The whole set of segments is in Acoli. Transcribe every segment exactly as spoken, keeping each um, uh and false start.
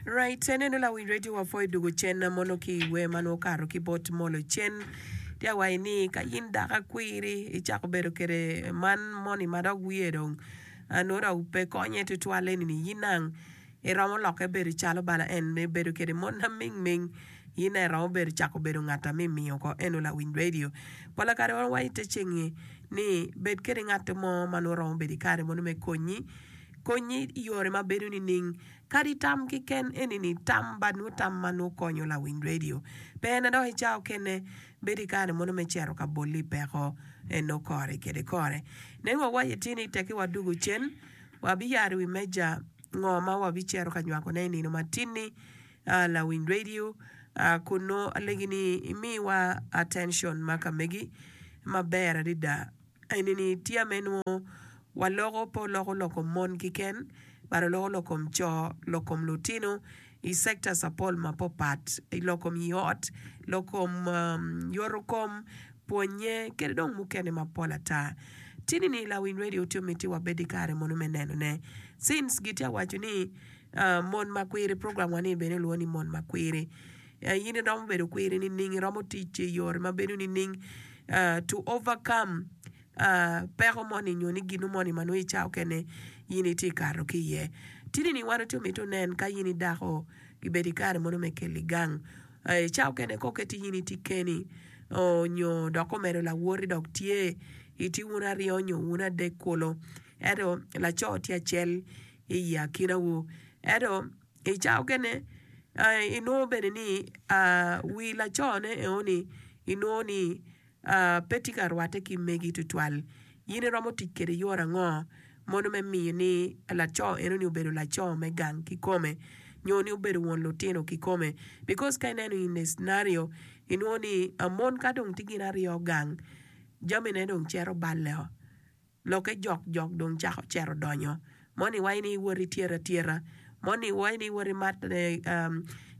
Right, eneno lawiny radio wa pwoyo dugo cen mono ki iwe ma nongo okato ki bot molo cen. Tye awaci ni ka in dako akwiri icako bedo kede man moni ma dok wiye dong nongo dok pe konye tutwal eni ni in nang iromo lokke bedo calo bala en me bedo kede mon aming ming in nang iromo bedo cako bedo ngat a mimiyo oko eno lawiny radio. Pola kare wan waco ite cengi ni bed kede ngat mo ma nongo romo bedo ikare mono me konyi konyi i yore ma bedo nining Kadi tam keken eni-ni, tam ba nwo tam ma nwo konyo lawiny radio. Pe en adok i cawa okene, bedo i kare mono me cito ka bolli i peko en nongo kore kede kore. Nen wa waco tye ni tekki wadugo cen, wabiyaro i wi meja ngo ma wabicito ka nywakone i nino matin-ni. Lawiny radio, kun nongo alegi ni imiwa attention ma ka megi maber adada. Eni-ni tye me nwo waloko pe oloko lok kom mon kiken but oloko lok kom co, lok kom lutino i sectors apol mapopat, i lok kom i ot, lok kom yoto kom, pwonye kede dong mukene mapol ata. Tini ni lawiny radio tye miti wabed i kare mono me neno ne since gitye awaco ni mon makwiri program wa ni bene olwongo ni mon makwiri. In iromo bedo kwiri nining? Iromo tic i yore ma bedo nining to overcome peko moni nyo ni gino moni ma nongo i cawa okene in itye kato ki iye? Tini ni wan watye mito nen ka in idako gibedo i kare mono me keli gang. I cawa okene ka oketi in itye keni nyo dok omedo lawoti dok tye itye wun aryo nyo wun adek kulu ento laco tye acel i akinawu ento I cawa okene inongo bene ni wi lacone enoni inongo ni pe tye ka rwatte ki megi tutwal. In iromo tic kwede yor ango mono me miyo ni laco enoni obedo laco me gang kikome nyo ni obedo won lutino kikome? Because ka ineno in a scenario inongo ni mon ka dong tye gin aryo gang jamine dong cito balle-o. Lokke jok jok dong cako cito donyo. Moni waco ni iwot ityet atyeta. Moni waco ni iwot imat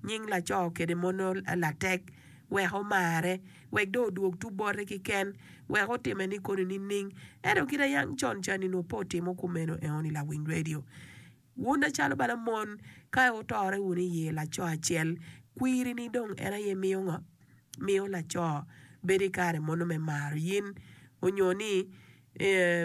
nying laco kede mono latek wek omare, wek dong odwog tu bote kiken, wek otime ni koni nining. Ento kit ayang con cani nongo pe otimo kumeno enoni lawiny radio. Wun acalo bala mon ka wutore wunu i laco acel, kwiri ni dong en aye miyo ngo? Miyo laco bedo i kare mono me maro yin, onyo ni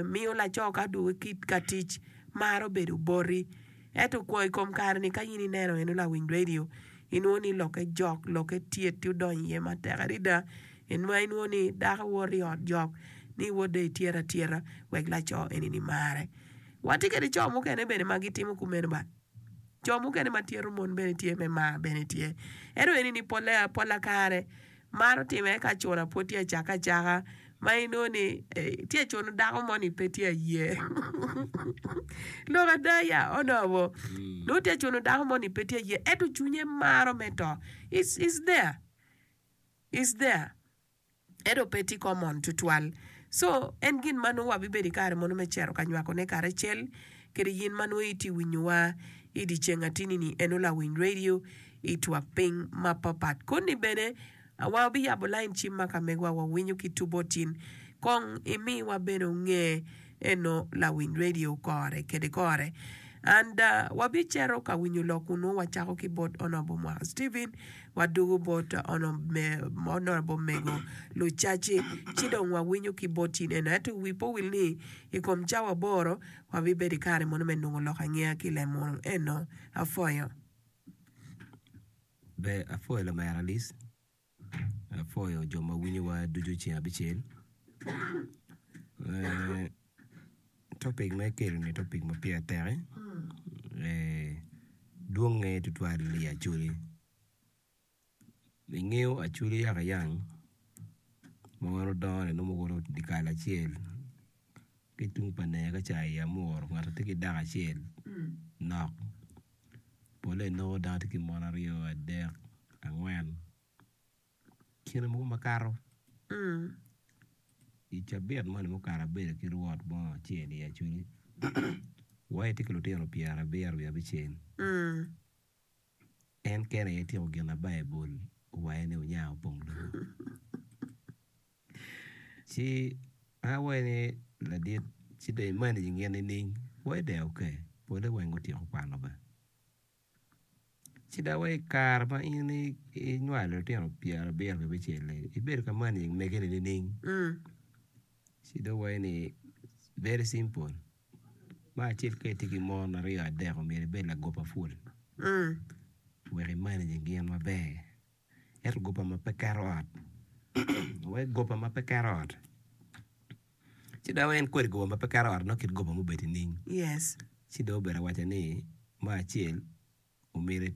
miyo laco ka odwogo ki ka tic maro bedo boti. Ento kwo i kom kare ni ka in ineno eno lawiny radio inwongo ni lokke jok, lokke tyet ti odonyo iye matek adada, inwongo ni dako woto i ot jok ni wot dong ityet atyeta wek laco eni ni mare. Watye kede co mukene bene ma gitimo kumeno ba. Co mukene ma tyeto mon bene tye me mar bene tye. Ento eni ni polle polla kare maro time ka cuna pwod tye acaka acaka ma inongo ni tye cuno dako moni pe tye aye. Lok ada ya onobo nongo tye cuno dako moni pe tye aye ento cwinye maro me to. It's, it's there. It's there. Ento pe tye common tutwal. So, en gin ma nongo wabibedo i kare mono me cito ka nywakone karacel kede yin ma nongo itye winyowa i dyeceng atini-ni eno lawiny radio i twak piny mapapat. Koni bene wabiyabo lain cim ma ka megwa wawinyo ki tubo tin. Kong imiwa bene onge eno lawiny radio kore kede kore. And wabicito ka winyo lok kun nongo wacako ki bot Honourable Mwaka Stephen Wadwogo bot Honourable Mego Lucaci ci dong wawinyo ki bot in eno. Ento wi pe owil ni i kom cawa aboro wabibedo i kare mono me nongo lok angeya ki lem mono eno. Apwoyo. Ber, apwoyo lamera Alice, apwoyo jo ma winyowa ducu ceng abicel. Eh, topic ma ikelo ni topic ma pire tek-ki, eh, dwonge tutwal i Acholi. Ingeyo Acholi yaka yang ma wan odongo-ni nongo wawoto dyekal acel ki tung pa ner ka ca i Amuru ngat tye ki dako acel nok pole inongo dano tye ki mon aryo adek angwen Kine mogo makato i cabit moni mukato abedo ki rwot mo acel i Acholi wa etye ki lutino pyerabiro wiye abicel en kene aye tyeko gin ma Baibul owaco ni wunya opong lobo ci an awaco ni ladit ci dong i manage gin nining? Waco dong ok pole weng gutyeko kwano bene. Ci dok wa i kare ma in inywalo lutino pyerabiro ki abicel-li, ibedo ka managing mege-ni nining? Ci dong waco ni very simple, me acel ka itye ki mon aryo adek omyero ibed lagoba pul wek i managing gin maber. Ento goba ma pe keto ot, wek goba ma pe keto ot. Ci dok en kodi goba ma pe keto ot nongo kit goba mubedo nining? Yes. Ci dong obedo awaca ni me acel omyero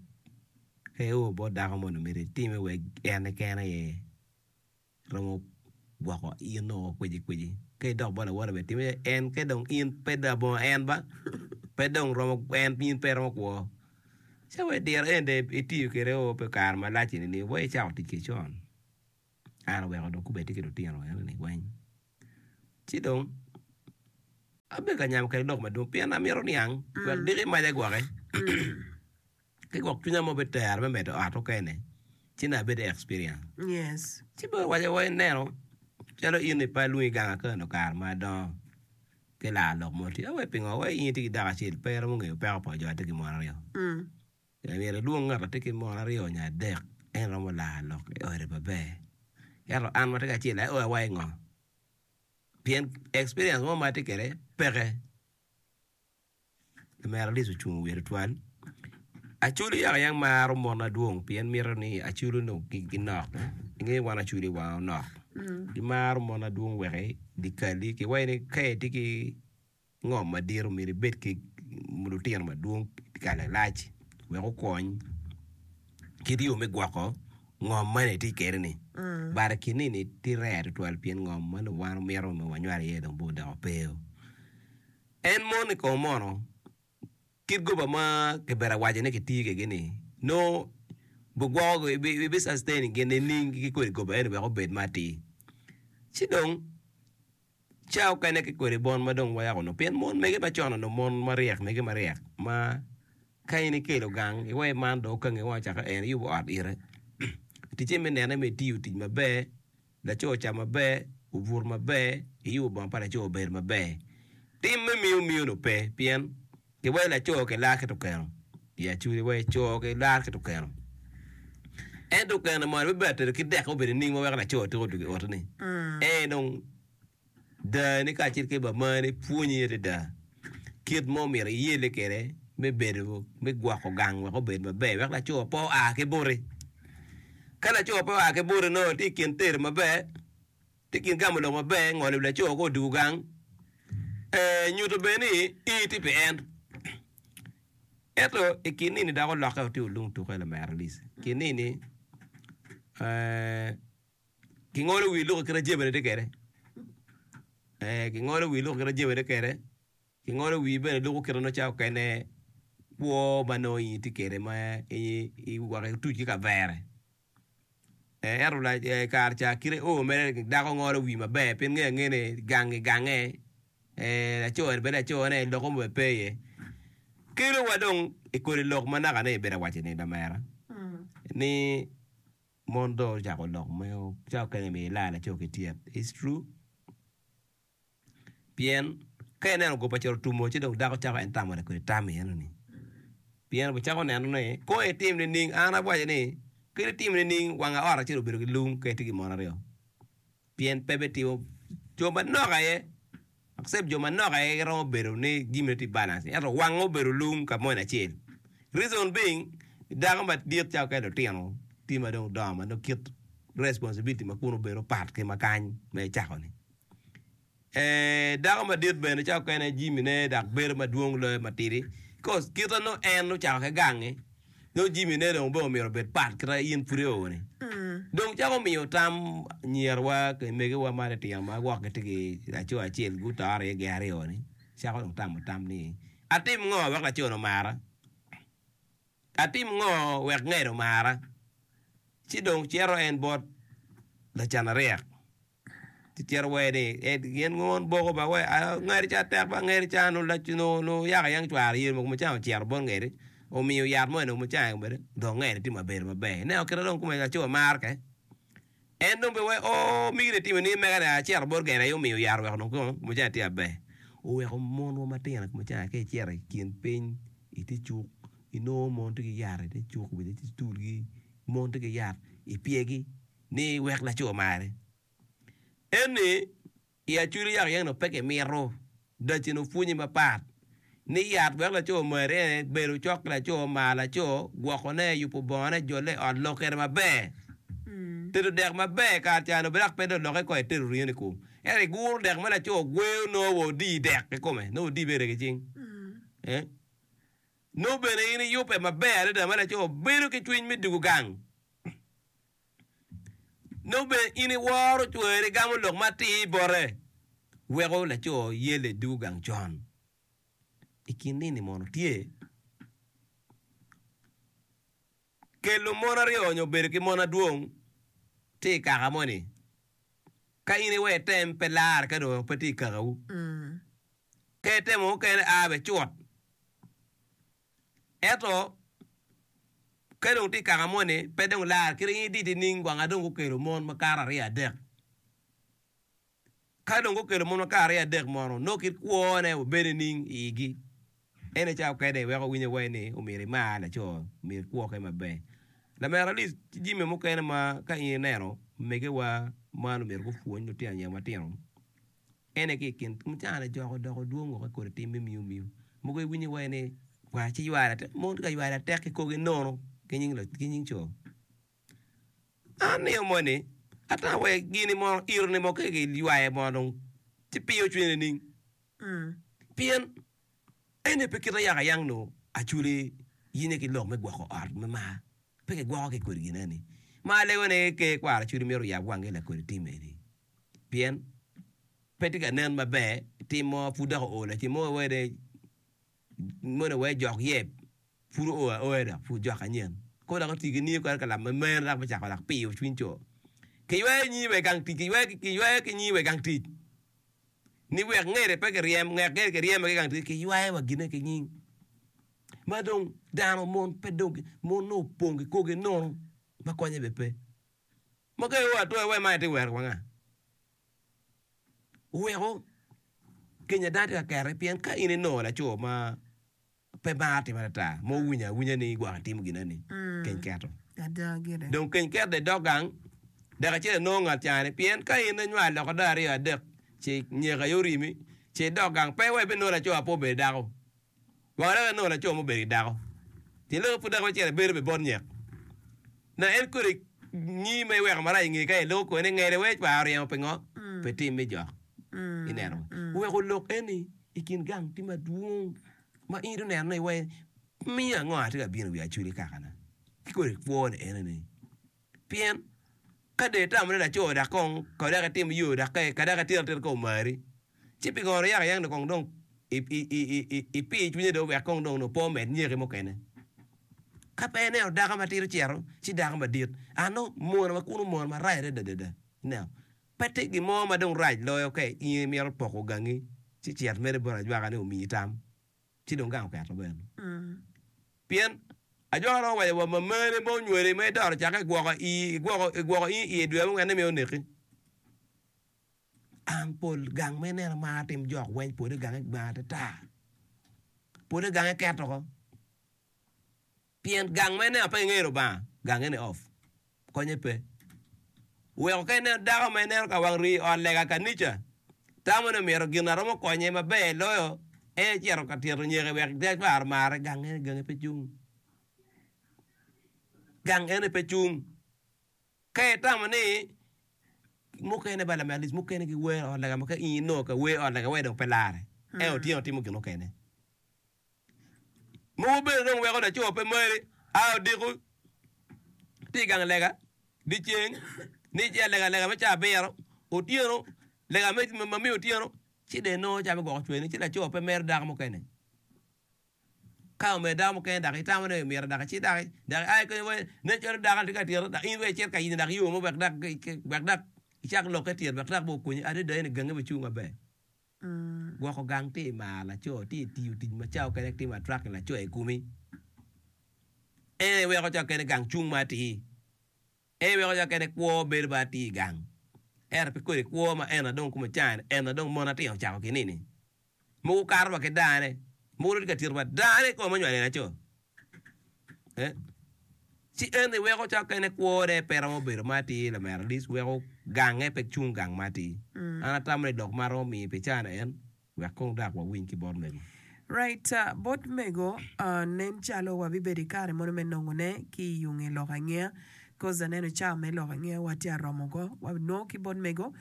ka io bot dako moni omyero itime wek en keken aye romo gwoko in nongo kweci kweci ka idok bot lawote bene time en ka dong in pe labongo en ba pe dong romo en in pe iromo kwo ci wa idiro en dong itiyo kwede o pi kare malac eni wa icako tic kwede con an oweko dong kobedi tye ki lutino enoni weng ci dong abedo ka nyamo kwede lok madwong pien amito niang wek diki maca gwoke ki gwok cwinya mo bitero me medo ot mukene ci nongo abedo ki experience Yes. ci bene owaco wa ineno calo in pe alwongi gang akano kare ma adongo ki laro lok mo tye awe pingo wa in itye ki dako acel pe iromo ngeyo peko pa jo atye ki mon aryo myero ilwong ngat atye ki mon aryo nyo adek en romo laro lok i ode maber ento an ma atye ki acel aye awaci ngo pien experience mo ma atye kwede peke lamera Alice ocungo wiye tutwal Acholi yaka yang maro mon madwong pien mito ni acholi onongo ginok inge wan acholi wanga onok gimaro mon madwong wek dikali kiwaco ni ka itye ki ngom madit myero ibed ki lutino madwong kare lac wek okony kit yo me gwoko ngom man itye kwede ni but i kin ni tye rare tutwal pien ngom ma nongo wan wamito me wanywalo iye dong odoko pe en mon i kom mono kit goba ma kibedo awaco ni kitiyo kwede ni nongo bigwoko bi sustain gin nining ki kodi goba eni wek obed ma atir ci dong ca okene ki kodi bon ma dong wayako nongo pien mon mege macon onongo mon maryek mege maryek ma ka in ikelo gang iwaci man dong okangi wang ocako en iyubo ot ire ticce me nene me itiyo tic maber laco ocamo maber obuto maber iyubo bongo pa laco obedo maber tim me miyo miyo no pe pien kiwaco laco kilar ki tukeno i acholi iwaci co kilar ki tukeno ento tukeno mono bibedo tedo ki dek obedo nining ma weko laco tuko dwogo i ot-ni en dong dani kacel ki bamani pwonyi adada kit mo myero iyelle kwede me bedo me gwoko gang wek obed maber wek laco pe oa ki boti ka laco pe oa ki boti nongo tye i kin tedo maber tye i kin gamo lok maber ngolo wi laco ka odwogo gang nyuto bene ni in itye pi en ento i kin nini dok olokke tye olung tuke lamera Alice i kin nini kingolo wi luki kit ma jami tye kwede kingolo wi luki kit ma jami tye kwede kingolo wi bene luko kite nongo ca okene kwo ma nongo in itye kwede ma wek ituc ki kavere ento kare ca kite o mere dako ngolo wi maber pien ngeyo angeya ni gangi gange laco ni bene lacone loko mo bene pe iye kelo wa dong i kodi lok ma naka ne ibedo awaco ni lamera ni mon dong ocako lok me ca okene myero ilar laco ki tyet it's true pien ka ineno goba ocito otumo ci dong dako cako en tamo kodi tam eno-ni pien obicako neno ni kong itim nining an awaco ni kadi itim nining wang ot acel obedo ki lung ka itye ki mon aryo pien pe bitimo jo manok aye except jo manok aye giromo bedo ni jami tye balance ento wange obedo lung ka moni acel reason being dako madit calo ka lutino tye ma dong dongo ma nongo kit responsibility ma kunu obedo pat ki ma kany ma icako-ni dako madit bene calo okene jamine dok bedo madwong loyo matidi cause kite nongo en ocako ki gangi nongo jamine dong bene myero obed pat kite in pud io-ni dong cako miyo tam anyirawa ki megiwa ma litino ma gwok gitye ki laco acel gutore iye gin aryo-ni cako dong tamo tam ni atim ngo wek laco-ni omara atim ngo wek ngede omara ci dong cito en bot lacan aryek ci cito waci ni gin mon boko ba ngedi ca tek ba ngedi ca nuyako yang cware yelo mogo mucanga ocito bot ngedi omiyo yat mo eni mucanga kwede dong ngedi tye mabedo maber ineno kite dong kome laco maro ke en dong bene waci oo migi ni itimo ni mege ni acito bot ngedi aye omiyo yat oweko dong mucanga tye maber oweko monwa matino mucanga ka icito i kin piny itye cuk Inongo mon tye ki yat i te cuk i te culgi, mon tye ki yat i pyegi ni wek laco mare. Eni i acwili yaka yeno pe kimito dacci opwonyi mapat ni yat wek laco mari ene bedo cok ki laco mar laco gwokone yubo bongone jole i ot lok kwede maber tedo dek maber kare ca nongo dok pe dong olokke kong itedo ringo ni kwo ento iguro dek ma laco gweyo nongo wa odi dek kikome nongo odi bene ki cing eh nongo bene in iyubbe maber adada ma laco bedo ki cwiny me dugo gang. Nongo bene in iworo cweri igamo lok matir bote weko laco yelle dugo gang con. I kin nini mono tye kelo mon aryo nyo bedo ki mon adwong tye i kaka moni ka in iwe item pe lar ka dong pe tye i kakawu ka itemo mukene a bene cut ento ka dong tye i kaka moni pe dong lar kit in iditi nining wanga dong gukelo mon makato aryo adek ka dong gukelo mon makato aryo adek mono nongo kit kwone obedo nining i igi en aye cawa mukene weko winyo wai ni omyero imar laco myero ikwo kwede maber lamera Alice ki jami mukene ma ka in ineno megewa man omyero gupwony lutino anyira matino en aye ki i kin mucana jok odoko dwong woko i kodi tim me miyo miyo mogo iwinyo wai ni wa ci yware atek mon tye ka yware atek ki kogi nono ki nying co an niyo moni ata wa gini mono iro-ni mo ka giywaye mono dong ci piyo cwinye nining pien eni pe kite yaka yang nongo acwali yinye ki lok me gwoko ot me mar pe kigwoko ki kodi gin eni ma alego ni ker kwaro acwali myero oyab wangi lakodi tim eni pien pe tye ka nen maber tim mo pud dok oo lacen mo wene moni wee jok yeb pud oo aoya dok pud jok anyen ko dok oti ki niyo kore ka lamo meno dok bicako dok piyo cwiny co kiywayo nyingi wa i gang tic kiywayo ki nyingi wa i gang tic ni wek ngede pe kiryem wek ngede kiryeme ki i gang tic kiywayo wa gine ki nying ma dong dano mon pe dong mon nongo opong ki kogi nono ma konye bene pe ma ka io atwero wai man itye wero wanga oweko kenya dano tye ka kete pien ka in inongo laco ma pe mar tim atata ma owinyo awinya ni gwok etimo gin eni keny keto Ada gire. dong keny keto idok gang dek acel inongo ngat cani pien ka in inywalo loko dong aryo adek ci nyeko aye orimi ci idok gang pe wa ibinongo laco ma pe obedo dako wang dok inongo laco ma obedo ki dako tyen lok pud dok ibicito ibedo bene bot nyek na en kodi nyi ma iweko marac inge ka iloko kodi ni ngede wek cware oryemo pingo pe tim me jok ineno oweko lok eni i kin gang tye madwong ma in ineno ni wai miyo ango atye ka bino i wi acwali kakana ki kodi kwo ni eni pien ka dong itamo ni laco dok kong ka dok itim yo dok ka dok itito atita ka omari ci pingo yaka yang kong dong ipi cwinye dong wek kong dong pe omed nyeki mukene ka pe ineno dako matidi ocito ci dako madit ano mono ma kunu mono marac adada ineno pe tye gin mo ma dong rac loyo ka in imito poko gangi ci cit mere bot ajwaka ni omiyi tam ci dong gang oketo bene pien ajwaka romo waco wa mamane ma onywali ma idoro cakke igwoko igwoko in iye dwe abongwen ni miyo oneki an pol gang ma ineno mar tim jok weng pole gange gbang atata pole gange keto oko pien gang ma ineno pe ingeyo Lubanga gange ni off konye pe oweko ka ineno dako ma ineno ka wang rii i ot lega kanica tamo ni omyero gin na romo konye maber loyo en ecito ka tyero nyeke wek cware omare gang eni gange pe cung gang eni pe cung ka itamo ni mukene ba lamer lic mukene giwero i ot lega ma ka in inongo ka wer i ot lega wai dong pe lare ento otyeno timo gin mukene mogo bene dong weko laco pe mari a odiko tye i gang lega dyeceng ni ci alega lega me caa abiro otyeno lega ma miyo otyeno ci dong inongo ca me gwoko cweni ci laco pe mero dako mukene ka omedo dako mukene dok itamo ni myero dok icit dok dok ia kenyo wai nen calo dako ni tye ka tyero dok in wek icit ka yenyo dok yo mo wek dok wek dok icak lokke tyet wek dok bene okonyi adada eni gangi bicung maber gwoko gang tye i mar laco tye i tiyo tic ma ca okene timo attracting laco i komi en aye weko ca okene gang cung ma atir en aye weko ca okene kwo bedo ma atir i gang ento pi kodi kwo ma en dong kome cani en dong mon atino ocako ki nini mogo okato wa ki dane mogo dong tye ka tito wa dane kome ma onywalo en laco Eh? Ci en iweko ca kene kwone pe romo bedo ma atir lamera at least weko gange pe cung gang ma atir. An atamo ni lok ma romo miyo pi cana en wek kong dok wawiny ki bot mego. Right, uh, bot mego uh, nen calo wabibedo i kare mono me nongone ki i yunge lok angeya cause aneno cawa me lok angeya watye aromo go wanongo ki bot mego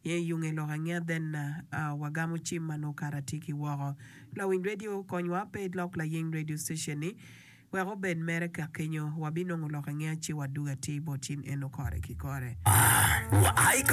ye yunge lok angeya then uh, uh, wagamo cim ma nongo kara tye ki woko. Lawiny radio konywa pe ilok layeng radio station ni wek obed mere ka kenyo wabinongo lok angeya ci waduga atir bot in eno kore ki kore. Wa ai ka